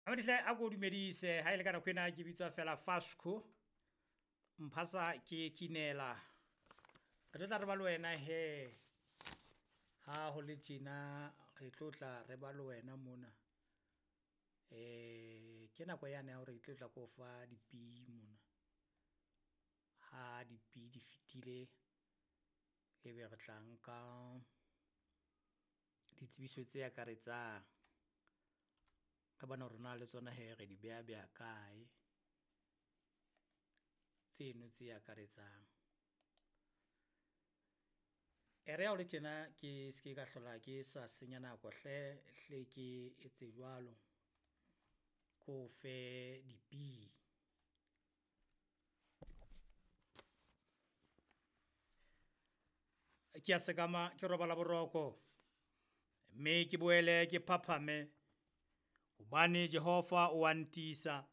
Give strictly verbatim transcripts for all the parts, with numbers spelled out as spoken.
Amadihle a ko dumedise ha ile ka nako ena ke bitswa fela Fasco mphasa ke kinela re tlo tla re ba le wena he ha ho le tjena re tlo tla re ba le wena mona. Eh ke nako yane ya hore ke tlo tla ko fa dipi mona. Ha dipi di fetile ebe re tla nka ditsebiso tse akaretsang. Re bone hore na le tsona hee re di beha beha kae, tseno tse akaretsang. E re ha ho le tjena ke ske ka hlola ke sa senya nako hle hle ke etse jwalo, ko fe dipi. Ke a sekama ke robala boroko, mme ke boele ke phaphame hobane Jehova o a ntiisa.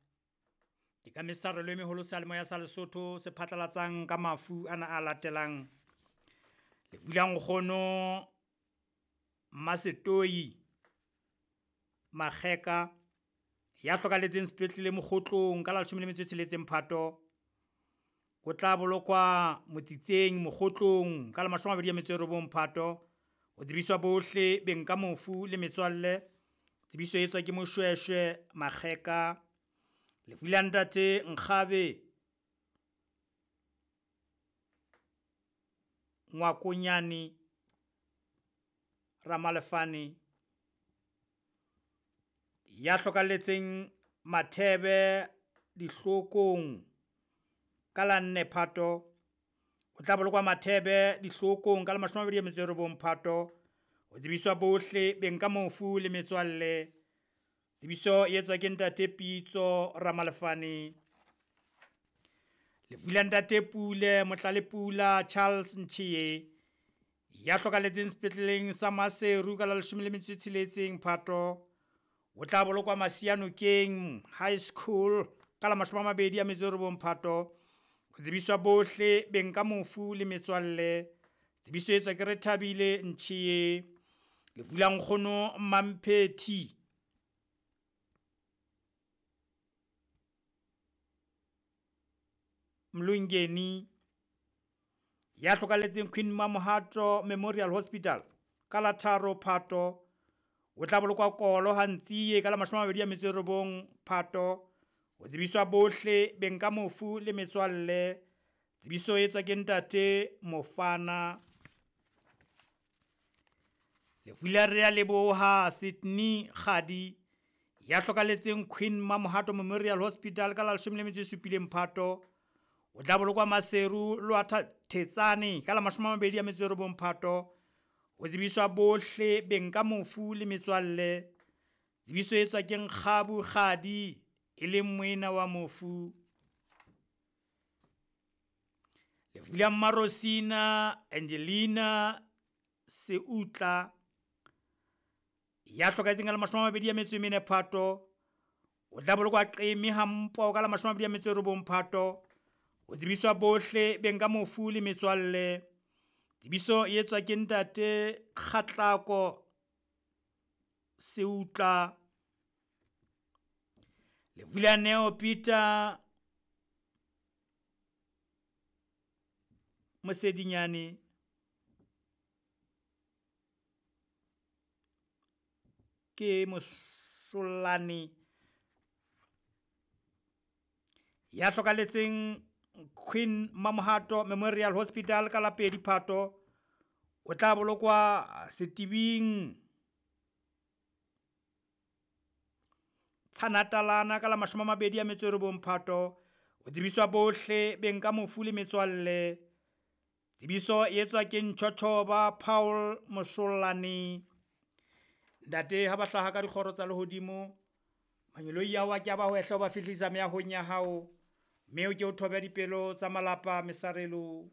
Ke ka mesarelo e meholo seyalemoya sa Lesotho se phatlalatsang ka mafu ana a latelang. Lefu la nkgono Mmasetoi Makgeka ya hlokahalletseng sepetlele Mokgotlong ka la leshome le metso e tsheletseng Phato. O tla bolokwa Motsitseng Mokgotlong ka la mashome a mabedi a metso e robong Phato. O tsebiswa bohle beng ka mofu le metswalle. Tsebiso e etswa ke Moshweshwe Makgeka. Lefu la ntate Nkgabe Ngwakonyane Ramalefane ya hlokahalletseng Mathebe Dihlokong ka la nne Phato. O tla bolokwa Mathebe Dihlokong ka la mashome a mabedi a metso e robong Phato. O tsebiswa bohle beng ka mofu le metswalle. Tsebiso e etswa ke ntate Pitso Ramalefane. Lefu la ntate Pule Motlalepula Charles Nchie ya hlokahalletseng sepetleleng sa Maseru ka la leshome le metso e tsheletseng Phato. O tla bolokwa Masianokeng High School ka la mashome a mabedi a metso e robong Phato. O tsebiswa bohle beng ka mofu le metswalle. Tsebiso e etswa ke Rethabile Nchie. Lefu la nkgono Mmamphethi Mlungeni ya hlokahalletseng Queen Mamohato Memorial Hospital ka la tharo Phato. O tla bolokwa Kolo ha Ntsie ka la mashome a mabedi a metso e robong Phato. O tsebiswa bohle beng ka mofu le metswalle. Tsebiso e etswa ke ntate Mofana. Lefu la Rea Leboha Sydney Kgadi ya hlokahalletseng Queen Mamohato Memorial Hospital ka la leshome le metso e supileng Phato. O tla bolokwa Maseru Lwatha Thetsane ka la mashome a mabedi a metso e robong Phato. O tsebiswa bohle beng ka mofu le metswalle. Tsebiso e etswa ke Nkgabu Kgadi e leng moena wa mofu. Lefu la Mmarosina Angelina Seutla ya hlokahetseng ka la mashome a mabedi a metso e mene Phato. O tla bolokwa Qeme Hampo ka la mashome a mabedi a metso e robong Phato. O tsebiswa bohle beng ka mofu le metswalle. Tsebiso e etswa ke ntate Kgatlako Seutla. Lefu la Neo Peter Mosedinyane ke Mosolane ya hlokahalletseng Queen Mamohato Memorial Hospital ka la pedi Phato. O tla bolokwa Setibing Tshanatalana ka la mashome a mabedi a metso e robong Phato. O tsebiswa bohle beng ka mofu le metswalle. Tsebiso e etswa ke Ntjhotjhoba Paul Mosolane. Ntate ha ba hlaha ka dikgoro tsa lehodimo, mangeloi ao a ke a ba hwehle ho ba fihlisa meahong ya hao, mme o ke o thobe dipelo tsa malapa mesarelo.